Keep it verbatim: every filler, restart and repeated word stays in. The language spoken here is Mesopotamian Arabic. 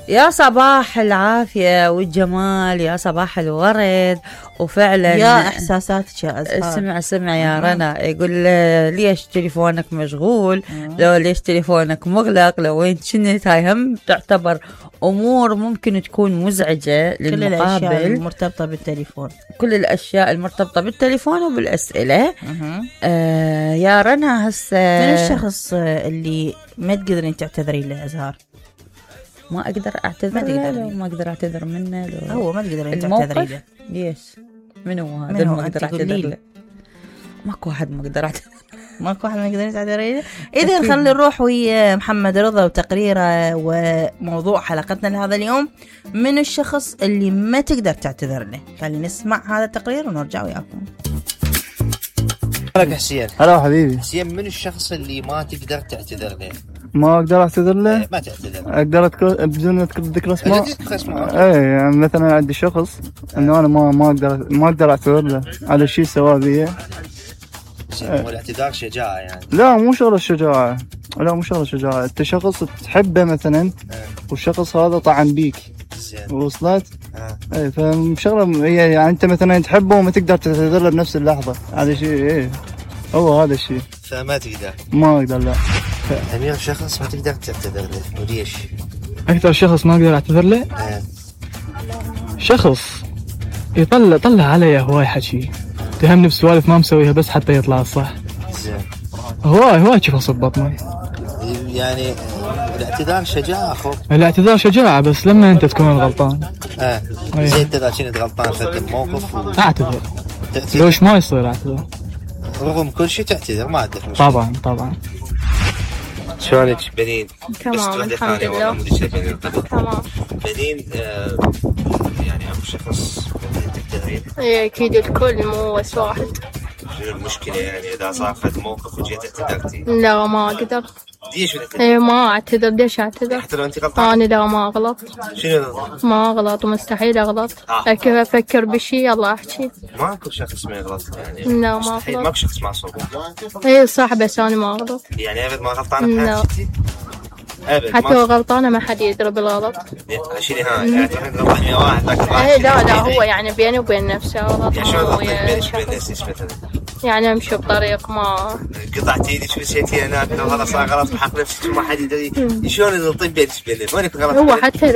يا صباح العافية والجمال، يا صباح الورد. وفعلا يا إحساساتك يا أزهار. اسمع سمع يا رنا، يقول ليش تليفونك مشغول، لو ليش تليفونك مغلق، لو وين كنت. هاي هم تعتبر أمور ممكن تكون مزعجة للمقابل. كل الأشياء المرتبطة بالتليفون، كل الأشياء المرتبطة بالتليفون وبالأسئلة. آه يا رنا هسه من الشخص اللي ما تقدرين تعتذرين له أزهار؟ ما أقدر أعتذر له، ما أقدر أعتذر منه لو هو ما تقدرين تعتذرين له. ليش؟ منو هذا ما أقدر أعتذر له؟ ماكو واحد ما أقدر أعتذر ماكو واحد ما يقدر يعتذر له. إذا خلي نروح ويا محمد رضا وتقريره وموضوع حلقتنا لهذا اليوم، من الشخص اللي ما تقدر تعتذر له. خلينا نسمع هذا التقرير ونرجع وياكم. هلا حسين. هلا حبيبي. حسين، من الشخص اللي ما تقدر تعتذر له؟ ما اقدر اعتذر له؟ ايه ما تعتذر. اقدر اذكر بدون ذكر اسماء؟ ذكر اسماء. ايه يعني مثلا عندي شخص انه انا ما ما اقدر ما اقدر اعتذر له على شيء سواه بي. والاعتذار شجاعه يعني؟ لا مو شغله الشجاعه، لا مو شغله الشجاعه. انت شخص تحبه مثلا اه. والشخص هذا طعن بيك، زين وصلت؟ اه. ايه فشغله هي يعني انت مثلا تحبه وما تقدر تعتذر له بنفس اللحظه. هذا شيء ايه هو هذا الشيء. فما تقدر؟ ما اقدر لا. أمير، شخص ما تقدر تعتذر له وليش؟ أكثر شخص ما أقدر أعتذر له؟ أه. شخص يطلع طلع علي هواي حكي، تهمني بسوالف ما مسويها بس حتى يطلع الصح. زين. هواي هواي شوف أصب بطني. يعني الاعتذار شجاعة أخو. الاعتذار شجاعة بس لما أنت تكون الغلطان. أه. زين أنت إذا كنت غلطان في الموقف و... أعتذر. لوش ما يصير أعتذر؟ رغم كل شيء تعتذر، ما عندك مشكلة. طبعا طبعا. شلونك بنين؟ تمام الحمد لله. تمام. بنين آه يعني أكو شخص تعتذرين؟ ايه أكيد الكل مو بس واحد. شنو المشكلة يعني إذا صار فد موقف وجيت اعتذرتي؟ لا ما أقدر. ليش بدك؟ ايه ما أعتذر. ليش أعتذر؟ حتى لو أنت غلطان؟ أنا لا ما أغلط. شنو؟ ما أغلط ومستحيل أغلط. آه. كيف أفكر بشي يلا أحكي. ماكو شخص ما يغلط يعني. لا ما أغلط. ماكو شخص معصوم. ايه صح بس أنا ما أغلط. يعني أبد ما غلطانة بحياتك؟ حتى لو غلطانة ما حد يدري بالغلط. شيلي ها يعني تحب غلطان ويا واحد لكن ايه لا لا هو يعني بيني وبين نفسه غلط. يعني شو غلط بينك وبين نفسك مثلا؟ يعني امشي بطريق ما قطعتي ايدك ومشيتي هناك لو هذا صار غلط بحق نفسك وما حد يدري. شلون تغلطين بينك وبين نفسك؟ وين يكون غلط؟ هو حتى